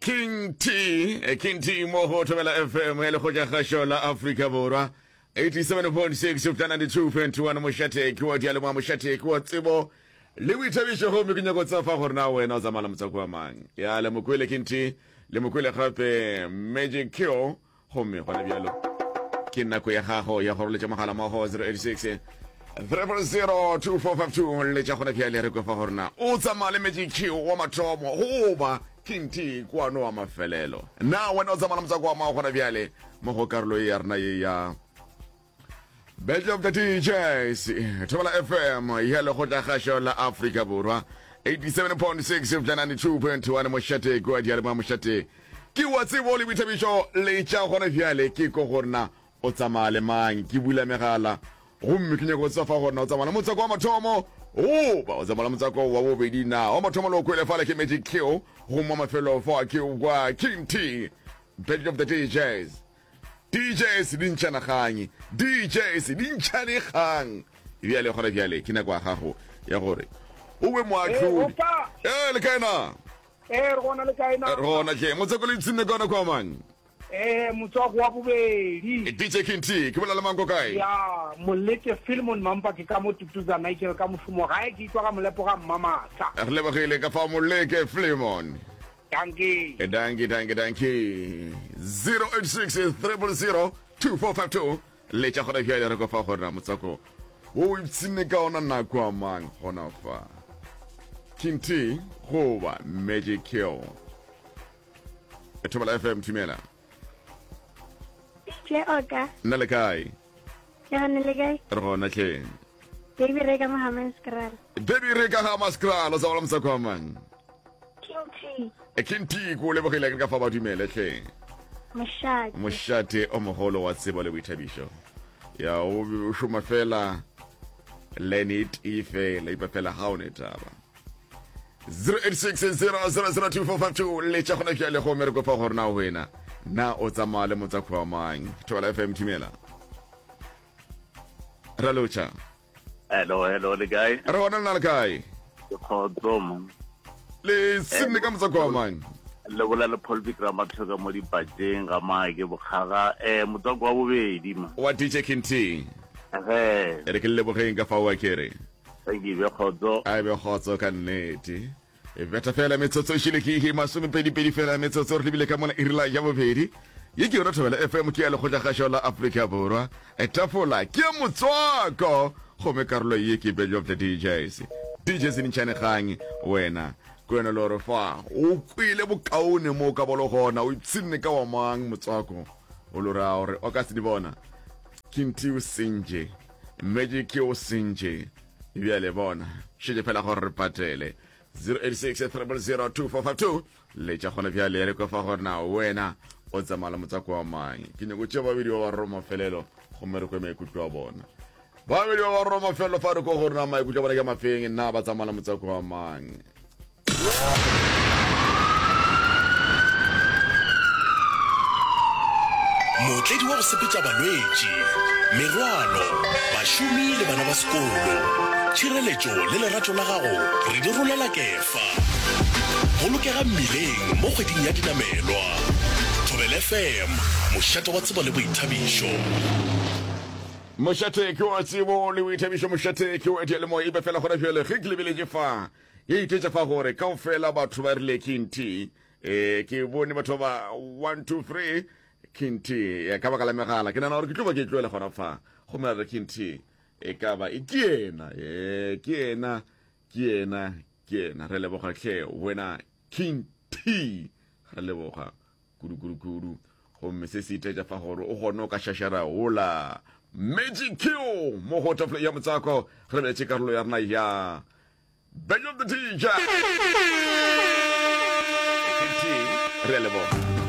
King T, eh, King T mo go Thobela FM ya lekgotla kgašo la Afrika Borwa 87.6 go fihla 92.1 mošate ke wa dialemoa mošate ke wa tsebo le boithabišo gomme ke nyako tsefa gore na wena o tsamaya le motswako wa mang ya le mokwele King T le mokwele gape Magic Q Gomme gona bjalo ke nako ya gago ya go roletša mogala mo go 086 000 2452 letša gona bjale re kwefa gore na o tsamaya le Magic Q wa mathomo goba King T kwano wa mafelelo. Na wena o tsamaya le motswako wa mao gona bjale mo go karolo ye ya rena ye ya Battle of the DJs, Thobela FM ya lekgotlakgašo la Afrika Borwa 87.6 go fihla 92.1 mošate kua diyalemoya mošate ke wa tsebo le boithabišo letša gona bjale ke ko gore na o tsamaya le mang ke bula megala gomme ke nyako go tseba fa gore na o tsamaya le motswako wa mathomo goba o tsamaya le motswako wa bobedi na wa mathomo le o kwele fale ke Magic Q gomme wa mafelo fa ke kwa King T Battle of the DJs DJs di ntšhana kgang, DJs di ntšhane kgang. Bjale gona bjale ke nako ya gago ya gore o be moahlodi. Ee, le kae na? Ee, re gona le kae na? Re gona hle. Motswako le ipshinne ka ona kwa mang? Ee, motswako wa bobedi. DJ King T, ke bolela le mang ko kae? Ya, Molete Philemon Mampa ke ka mo Tutuza Nigel ka mošomo gae ke itwa ga Molepo ga Mmamasa. Re lebogile ka fa Moleke Philemon. Dankie. Eh, dankie, dankie, dankie. 086 000 2452 letša gona bjale re kofa gore na motswako wo o ipshinne ka ona nako a mang gona fa King T goba Magic Kill e Thobela FM thumela Tle oka. Nna le kae? Ke gone le kae? Re gona tleng. Baby re ka mo Hammanskraal. Baby re ka Hammanskraal o sa bola motswako wa mang? King T. E King T ko lebogile ke ka fa ba dumele tleng. Mošate. Mošate o mogolo wa tsebo le boithabišo. Ya o šoma fela lane e tee fela ipa fela ga o ne taba. 0860002452 letša gona bjale go mere kopa gore na wena na o tsamaya le motswako wa mang Thobela FM thumela ra lotšha Hello, hello, le kae? Re gona lena le kae? Ke kgotso mo. Le senne ka motswako wa mang? Le bola le Paul Vikram Mathoka mo dipateng ga Maake Bokgaga. Eh, motswako wa bobedi ma. Wa DJ King T. Ge. E re ke le lebogeng ka fa wa kere. Thank you, be kgotso. A be kgotso ka nnete. E betha fela metsotso e šile ke ihe masomepedipedi fela metsotso re lebile ka mona irila ya bobedi. Ye ke yona Thobela FM ke ya lekgotlakgašo la Afrika Borwa. E tafola ke ya motswako gomme karolo ye ke Battle of the DJs. DJ Senintšhane Kgang wena ke wena le gore fa o kwele bokaone mo o ka bolo gona o ipshinne ka wa mang motswako o lo ra gore o ka se di bona King T o sentše Magic o sentše Bjale bona, šetše fela gore re patele. 086 000 2452 letša gona bjale re kwa fa gore na wena o tsamaya le motswako wa mang. Ke nyako tšea babedi ba ba roro mafelelo gomme re kwe maikutlo a bona. Babedi ba ba roro mafelelo fa re kwa gore na maikutlo a bona ke mafeng, na ba tsamaya le motswako wa mang. Mootledi wa go sepetša balwetši, merwalo, bašomi le bana ba sekolo. Tšhireletšo le lerato la gago re di rolela kefa. Bolokega mmileng mo kgweding ya dinamelwa. Thobela FM, mošate wa tsebo le boithabišo. Mošate ke wa tsebo le boithabišo, mošate ke wa diyalemoya. Ebe fela gona bjale ge ke lebeletše fa E itetša fa gore kaofela batho ba rile King T. E, ke bone batho ba 1 2 3 King T. E, ka baka la megala ke nana gore ke tlo ba ke tloele gona fa. Gomme a re King T. E ka ba e ke yena, e ke yena, ke yena, ke yena. Re leboga hle wena King T. Re leboga kudu kudu kudu. Gomme se se itetša fa gore o gone o ka šašara hola Magic Q mo go tafole ya motswako. Re beletše karolo ya rena ya Bang of the DJ. Re a leboga.